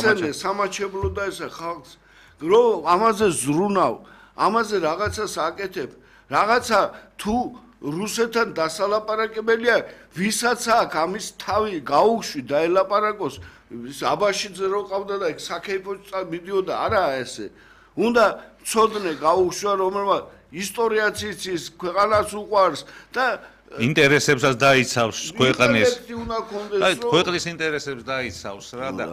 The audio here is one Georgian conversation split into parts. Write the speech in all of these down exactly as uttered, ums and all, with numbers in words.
ცენე სამაჩებლო და ესე ხალხს რომ ამაზე ზრუნავ, ამაზე რაღაცას აკეთებ, რაღაცა თუ რუსეთთან დასალაპარაკებელია, ვისაც აქ ამის თავი გაუშვი და ელაპარაკოს, აბაშიძე რო ყავდა და ეგ საქეიფოც მიდიოდა, არაა ესე. უნდა ცოდნე გაუშვა, რომელმა ისტორიაც იცის, ქვეყანას უყვარს და ინტერესებსაც დაიცავს ქვეყნის. აი, ქვეყნის ინტერესებს დაიცავს რა და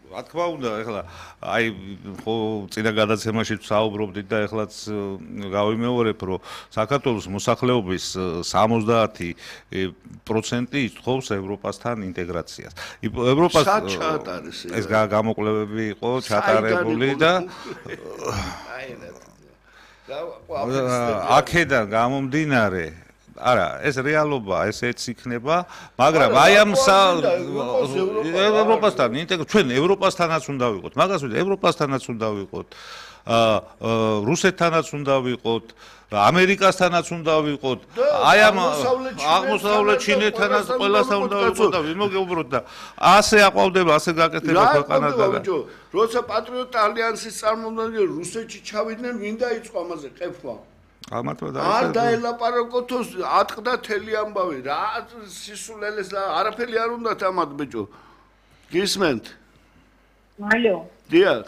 რა თქმა უნდა, ეხლა აი ხო წინა გადაცემაში საუბრობდით და ეხლაც გავიმეორებ, რომ საქართველოს მოსახლეობის სამოცდაათი პროცენტი ითხოვს ევროპასთან ინტეგრაციას. ევროპას ეს გამოკვლევები იყო ჩატარებული და აქედან გამომდინარე არა, ეს რეალობა, ესეც იქნება, მაგრამ აი ამ ევროპასთან ინტეგრაცია, ჩვენ ევროპასთანაც უნდა ვიყოთ, მაგას ვიტყვი, ევროპასთანაც უნდა ვიყოთ, რუსეთთანაც უნდა ვიყოთ, ამერიკასთანაც უნდა ვიყოთ, აი ამ აღმოსავლეთ ჩინეთთანაც ყველასთან უნდა ვიყოთ და ვიმოგეუბროთ და ასე აყვავდება, ასე გაკეთდება ქვეყანა და როცა პატრიოტ ალიანსის წარმომადგენლები რუსეთში ჩავიდნენ, ვინ დაიწყო ამაზე ყეფვა? არ დაელაპარაკოთო, ატყდა თელი ამბავი, რა სისულელეს არაფერი არ უნდათ ამათ ბიჭო. გისმენთ? ალო. დიახ.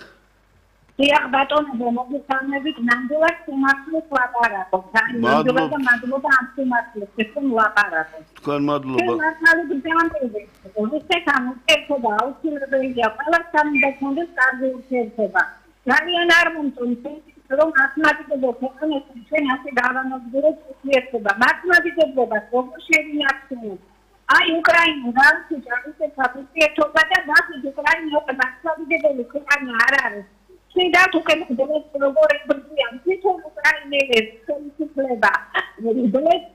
დიახ ბატონო, მოგესალმებით, ნამდვილად სიმართლეს ლაპარაკობ. ნამდვილად და მადლობა ამ სიმართლეს, რომ ლაპარაკობ. თქვენ მადლობა. მართალი გძანდება. რუსეთ ამერიკა აუცილებელია, ყველასთან უნდა კონდეს კარგი ურთიერთობა. ძალიან არ მომწონს რომ მათემატიკებო ქვეყნებს ჩვენ ასე დავანადგურებთ ურთიერთობა. მათემატიკებობას როგორ შევინახავთ? აი უკრაინა რუსეთს აღიქვეა ურთიერთობა და მათი უკრაინა მათემატიკებელი ქვეყანა არ არის. შეიძლება უკეთებდეს როგორ ებრიან თვითონ უკრაინელებს ხელისუფლება. ბლეკ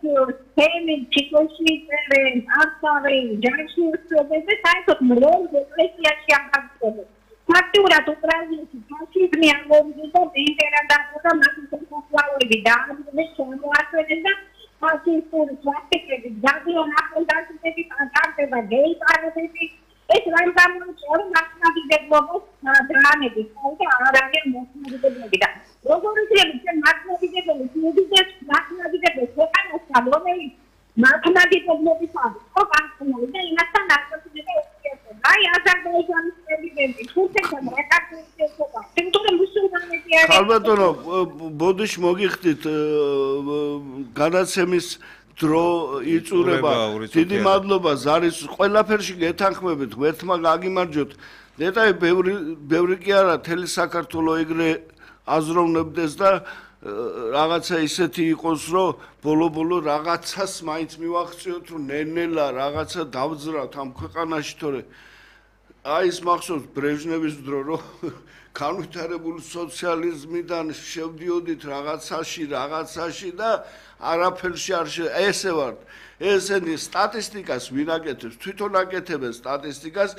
თემი ჩიკოში წერენ, ახალი ჯარში უსწრებენ საერთოდ მროვლ ეკლესიაში აღარ ფაქტურად უკრაინაში ფაშიზმი ამოვიდა და იმპერატორთა მასშტაბური დაავადებები შემოაჩვენეს და ფაშისტური პრაქტიკები ძალიან ახლანდაშები განდება გეიპარები ეს რა გამოიწვია მასშტაბებობის დრამები და არ არის მასშტაბები და როგორ შეიძლება ჩვენ მასშტაბები მოდიდეს მასშტაბები ქვეყანასთან რომელიც მათემატიკოსების ხო კანონი და იმასთან ასოცირდება აი აზერბაიჯანის პრეზიდენტი თურქეთთან ეკავშირდება თუმცა მუსულმანები არიან ალბათონო ბოდიში მოგიხდით გადაცემის დრო იწურება დიდი მადლობა ზარის ყველაფერში გეთანხმებით ერთმა გაგიმარჯოთ დეტალი ბევრი ბევრი კი არა თელი საქართველოს ეგრე აზროვნებდეს და რაღაცა ისეთი იყოს რომ ბოლო-ბოლო რაღაცას მაინც მივახციოთ რომ ნელ-ნელა რაღაცა დავძრავთ ამ ქვეყანაში თორე აი ეს მახსოვს ბრეჟნევის დრო რომ განვითარებული სოციალიზმიდან შევდიოდით რაღაცაში რაღაცაში და არაფერში არ ესე ვარ ესენი სტატისტიკას ვინ აკეთებს თვითონ აკეთებენ სტატისტიკას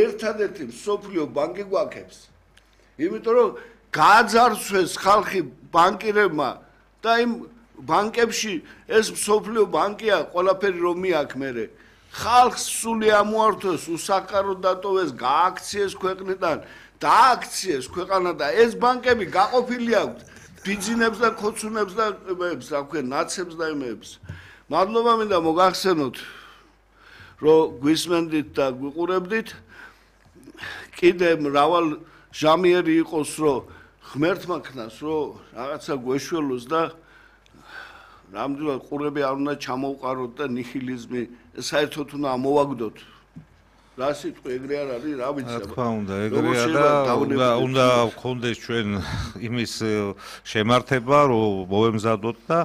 ერთადერთი მსოფლიო ბანკი გვაქებს იმიტომ რომ გააძარცვეს ხალხი ბანკირებმა და იმ ბანკებში ეს მსოფლიო ბანკია ყველაფერი რომ მიაქვს მერე ხალხს სული ამოართვეს უსახკარო დატოვეს გააქციეს ქვეყნიდან დააქციეს ქვეყანა და ეს ბანკები გაყოფილი აქვს ბიძინებს და ქოცუნებს და ემებს რა ქვია ნაცებს და ემებს მადლობა მინდა მოგახსენოთ რომ გვისმენდით და გვიყურებდით კიდე მრავალ ჟამიერი იყოს რომ ღმერთმა ქნას რომ რაღაცა გვეშველოს და ნამდვილად ყურები არ უნდა ჩამოვყაროთ და ნიჰილიზმი საერთოდ უნდა ამოვაგდოთ რა სიტყვი ეგრე არ არის რა ვიცი რა თქმა უნდა ეგრეა და უნდა გქონდეს ჩვენ იმის შემართება რომ მოვემზადოთ და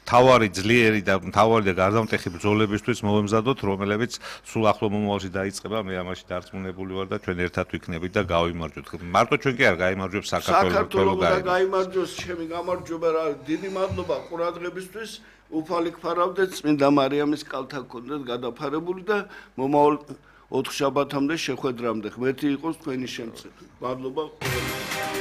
თავარი ძლიერი და თავარი და გარდამტეხი ბრძოლებისთვის მოვემზადოთ, რომელებიც სულ ახლო მომავალში დაიწყება, მე ამაში დარწმუნებული ვარ და ჩვენ ერთად ვიქნებით და გავიმარჯვოთ. მარტო ჩვენ კი არ გაიმარჯვებს საქართველოს საქართველოს და გაიმარჯვოს ჩემი გამარჯვება რა დიდი მადლობა ყურადღებისთვის უფალი გფარავდეთ წმინდა მარიამის კალთა გქონდეთ გადაფარებული და მომავალ ოთხ შაბათამდე შეხვედრამდე ღმერთი იყოს თქვენი შემწე. მადლობა